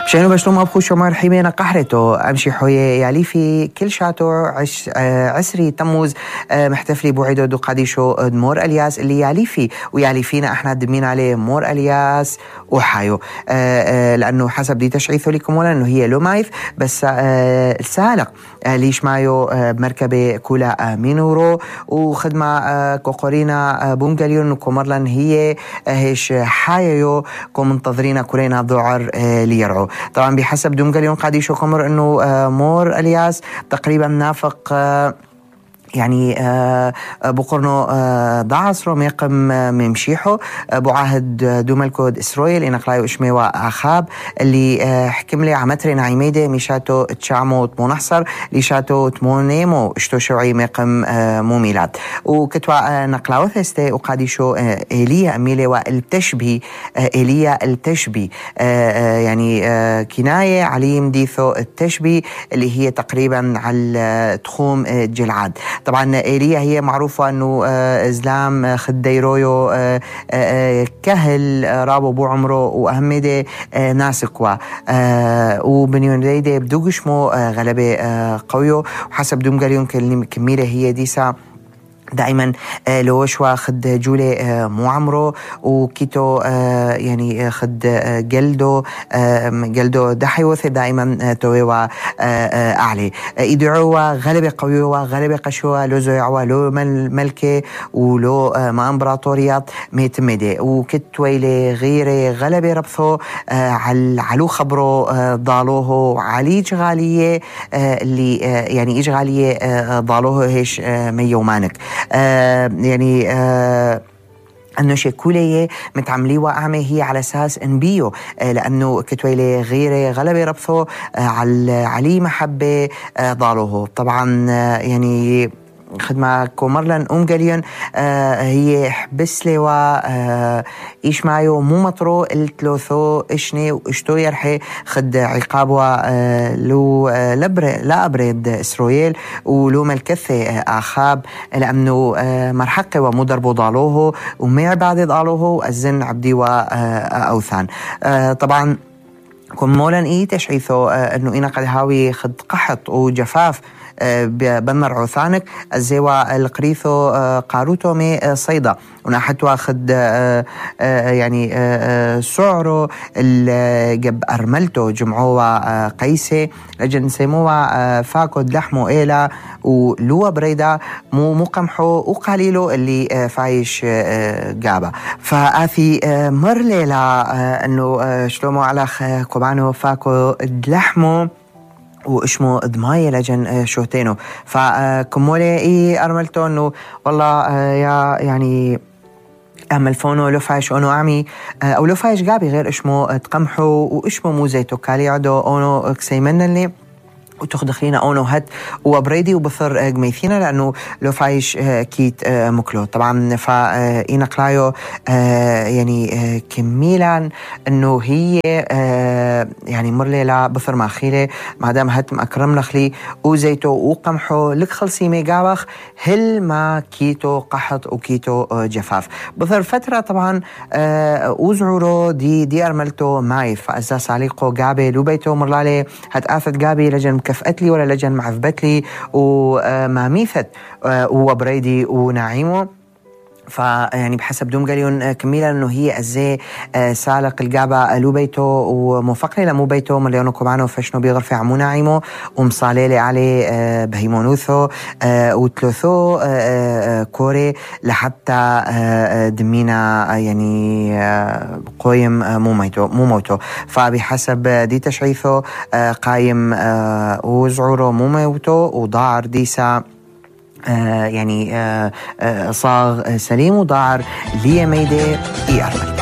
بشانو بشلوم أبخو شمار حيمينا قحرتو أمشي حوية ياليفي كل شاتو عسري تموز محتفلي بوعيدو دو قاديشو مور الياس اللي ياليفي وياليفينا احنا دمين عليه مور الياس وحايو لأنه حسب دي تشعيثو لكم ولا أنه هي لو مايف بس السالق ليش مايو بمركبة كولا مينورو وخدمة كوكورينا بونجاليون وكومرلن هي هيش حايو كو منتظرين كورينا ذعر ليرعو. طبعا بحسب دومجاليون قاديشو كمر انه مور الياس تقريبا نافق يعني بقرنو ضعصرو ميقم ممشيحو بعهد دومالكود إسرائيل إنك لايو إشميوا أخاب اللي حكملي عمتري نعيميدة ميشاتو تشعمو تمونحصر ليشاتو تمونيمو اشتو شوعي ميقم مو ميلاد وكتوا نقلاو ثستي وقاديشو إيليا أميلي والتشبي إيليا التشبي يعني كناية عليم ديثو التشبي اللي هي تقريبا على تخوم جلعاد. طبعا إيليا هي معروفة أنه إزلام خديرويو كهل رابو بو عمره وأهمده ناسكوا وبنيون ديدي بدوغشمو غلبة قويو وحسب دومجاليون كميرة هي ديسا دائما لوشوا خد جولي مو عمره وكيتو يعني خد جلدو دحيوث دائما تويوا أعلي يدعوا غلبة قويوا غلبة قشوا لو زيعوا لو ملكة ولو ما امبراطوريات ميتمدي وكتويلي غير غلبة ربثو علو خبرو ضالوه علي جغالية اللي يعني إجغالية ضالوه هيش ميومانك يعني أنه شكولية متعمليوا أعمى هي على أساس انبيو لأنه كتويلي غير غلبة ربثو علي محبة ضالوه. طبعا يعني خدمة كومرلن أمجاليون هي حبس لي إيش معيو مو مطرو التلوثو إشني وإشتو يرحي خد عقابوا لو لا أبرد إسرائيل ولو ملكثة أخاب لأنه مرحقة ومدربو ضالوه وما بعد ضالوه الزن عبدي وأوثان. طبعا كم مولا إيه تشعيثو أنه إنا قد هاوي خد قحط وجفاف بنر عثانك الزيوا القريثو قاروتو مي صيدا ونحتوا خد يعني سعره الجب أرملتو جمعوا قيسي لجن سيموا فاكود لحمو إيلا ولوا بريدا مو قمحو وقليلو اللي فايش جابا فآثي مر ليلا أنه شلومو على كوبانو فاكو لحمو وإشمو دماية لجن شوتينو فكمولي إيه أرملتو إنه والله يا يعني أعمل فونو لو فايش أونو أعمي أو لو فايش قابي غير إشمو تقمحو وإشمو موزيتو كالي عدو أونو كسيمن اللي وتخدخلينا أونو هات وبريدي وبثر جميثينا لأنه لو فايش كيت مكلو. طبعا فإينا قلايو يعني كميلا أنه هي يعني مرليلا بثر ماخيلة مادام هات مأكرم نخلي وزيتو وقمحو لك خلصي ميقاوخ هل ما كيتو قحط وكيتو جفاف بثر فترة. طبعا وزعورو دي أرملتو مايف فأزاس عليقو قابي لو بيتو مرلالي هات آفت قابي لجن كفأت لي ولا لجن معذبت لي وما ميثت وبريدي ونعيمه. فيعني بحسب دومجاليون كميلا انه هي ازاي سالق الجابة لو بيتو ومفقلي لمو بيتو مليونو كوبانو فشنو بيغرفي عمو ناعيمو ومصاليلي عليه بهيمونوثو وتلوثو كوري لحتى دمينا يعني قويم مو موتو فبحسب دي تشعيثو قايم وزعورو مو موتو وضاعر ديسا يعني صاغ سليم وضاعر ليه ميدي إيه أرمل.